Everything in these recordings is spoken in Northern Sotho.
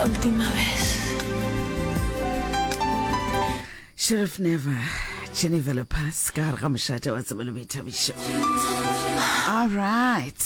La última vez. Sheriff Never, Jennifer Lopez, ka gare ga mošate wa tsebo le boithabišo. All right.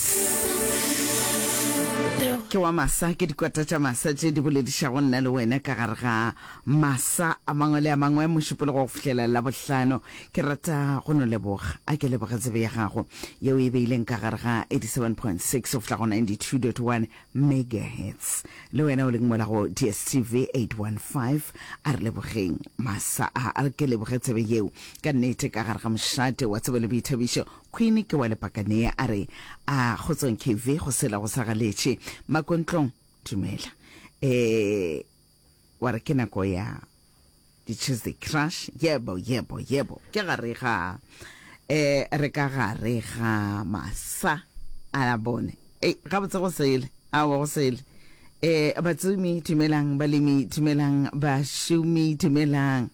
Ke wa masa, ke dikwata tša masa tše di boledišago nna le wena ka gare ga masa a mangwe le a mangwe mošupologo go fihlela Labohlano. Ke rata go no leboga. A ke leboge tsebe ya gago yeo e beileng ka gare ga 87.6 go fihla go 92.1 megahertz. Le wena o leng mola go DSTV 815, a re lebogeng masa a. A re ke leboge tsebe yeo ka nnete ka gare ga mošate wa tsebo le boithabišo. Queen ke wa Lepakanea a re, A kgotsong KV, go sela go sa galetše. Makontlong, dumela. Eh, wa re ke nako ya di-Tuesday Crush. Yebo, yebo, yebo. Ke gare ga, eh, re ka gare ga masa a bone. Ei, gabotse go sele. Aowa, go sele. Eh, batsomi, dumelang. Balemi, dumelang. Bašomi, dumelang.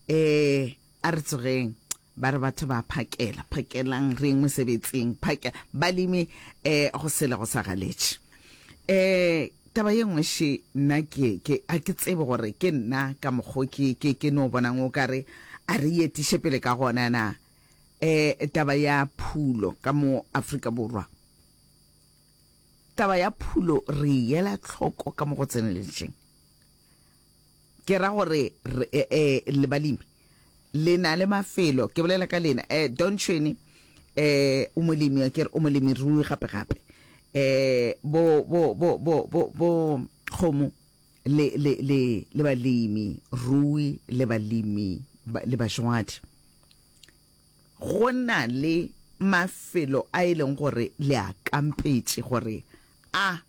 Eh, a re tsogeng. Ba re batho ba phakela, phakelang re yeng mosebetsing, phake, balemi, eh, go sele go sa galetše. Eh, taba ye nngwe še, nna ke, ke, a ke tsebe gore ke nna ka mokgo ke, ke, ke no bonang o ka re a re etiše pele ka gona na, eh, taba ya phulo ka mo Afrika Borwa. Taba ya phulo re e ela tlhoko ka mo go tseneletšeng. Ke ra gore re, eh, eh, le balemi le na le mafelo, ke bolela ka lena. Eh, Don Tšhwene, eh, o molemi, a ke re, o molemirui gape gape. Eh, bo, bo, bo, bo, bo, bo kgomo le, le, le, le balemi rui le balemi ba, le bajwadi. Go na le mafelo a e leng gore le a kampetše gore a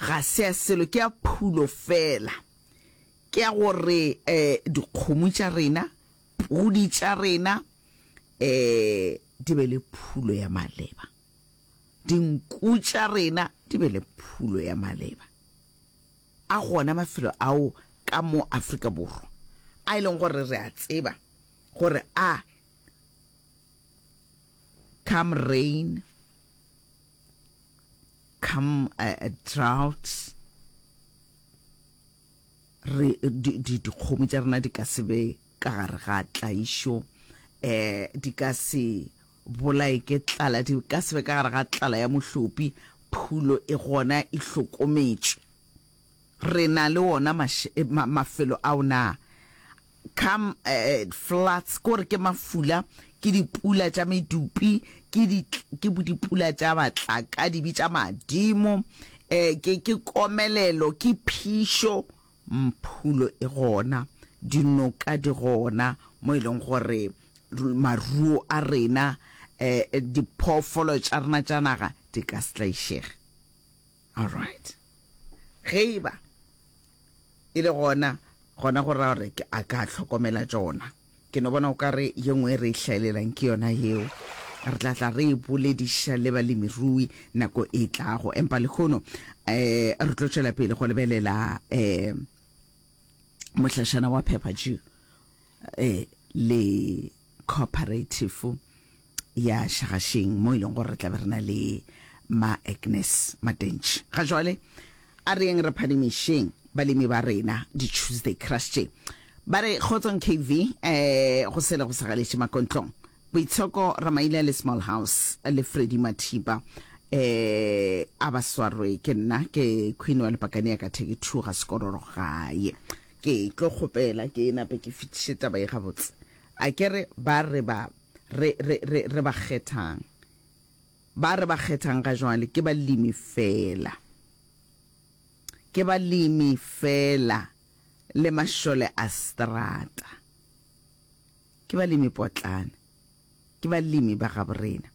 Ga se ya selo, ke ya phulo feela. Ke ya gore um dikgomo tša rena, pudi tša rena um di be le phulo ya maleba. Dinku tša rena di be le phulo ya maleba. A gona mafelo ao ka mo Afrika Borwa a e leng gore re a tseba gore a come rain, come uh, droughts re dikgomo tša rena di ka se be ka gare ga tlaišo um di ka se bolae ke tlala di ka se be ka gare ga tlala ya mohlopi phulo e gona e hlokometšwe re na le ona mafelo ao na Come floods, ke gore ke mafula, ke dipula tša medupi, ke di, ke dipula tša matlakadibe tša madimo, eh, ke, ke komelelo, ke phišo, mphulo e gona, dinoka di gona, mo e leng gore maruo a rena, eh, diphoofolo tša rena tša naga di ka se tlaišege. All right. Ge e ba e le gona, gona go ra gore a ka hlokomela tšona. Ke no bona o ka re ye nngwe e re e hlaelelang ke yona yeo. Re tla tla re e bolediša le balemirui nako e tlago. Empa lehono um re tlo tšwela pele go lebelela um mohlašana wa Pepper Dew um le cooperative ya Šagašeng mo e leng gore re tla be re na le ma Agnes Matentši. Ga jwale a re yeng re phadimišeng balemi ba rena di Tuesday Crush tše. Ba re kgotsong KV eh go sele go sa galetše makontlong. Boitshoko Ramaila le Small House le Freddy Mathipa eh a ba swarwe ke nna ke Queen wa Lepakane ya ka theke thuga sekororo gae. Ke tlo kgopela ke nape ke fetiše taba ye gabotse. A ke re ba re ba, re, re, re, re ba kgethang. Ba re ba kgethang ga jwale ke balemi feela. Ke balemi feela le mašole a strata. Ke balemi potlana. Ke balemi ba gaborena.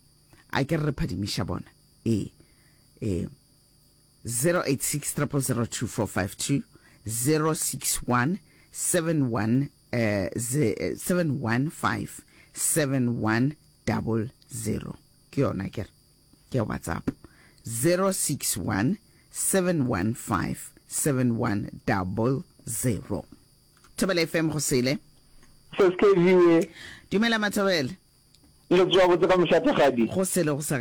A ke re re phadimiša bona. Ee. Ee. 086 000 2452 061 71 715 7100 ke yona ke re ke ya whatsapp 061 715 7100 Thobela FM go sele Seskeviwe. Dumela Mathobela. Le tsoa botse ka mošathagadi. Go sele go sa.